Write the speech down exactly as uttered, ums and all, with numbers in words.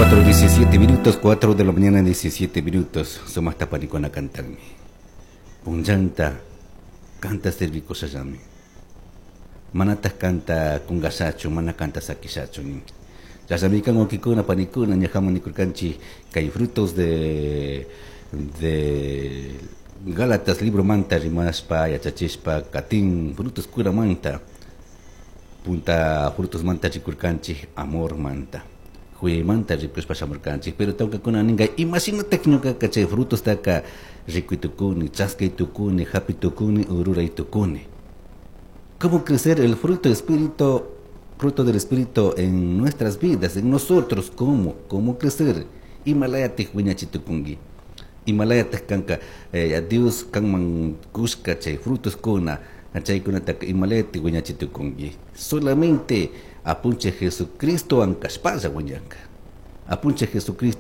Cuatro diecisiete minutos, cuatro de la mañana diecisiete minutos. Sumaqta panikuna cantanmi. Punllanta kanta servikushallami. Manataq kanta kungashachu, mana kanta sakishachu nin. Chashnami wawkikuna panikuna ñajaman nikurkanchik kay frutos de de Gálatas libro manta rimashpa yachachishpa katin frutos manta punta frutos manta rikurkanchik amor manta manta rikushpa shamurkanchik pero tawkakuna ninka imashinatak ñukaka chay frutostaka rikuy tukuni chaskay tukuni hapi tukuni ururay tukuni. ¿Cómo crecer el fruto espíritu, fruto del espíritu en nuestras vidas, en nosotros? ¿Cómo? ¿Cómo crecer? Imalayatik wiñachitukunki. Imalayatik kanka eh, Dios kanman kushka chay frutos kuna chaykunataka imalayatik wiñachitukunki. Solamente apunchik Jesucristo kashpalla wiñanka. Apunchik Jesucristo.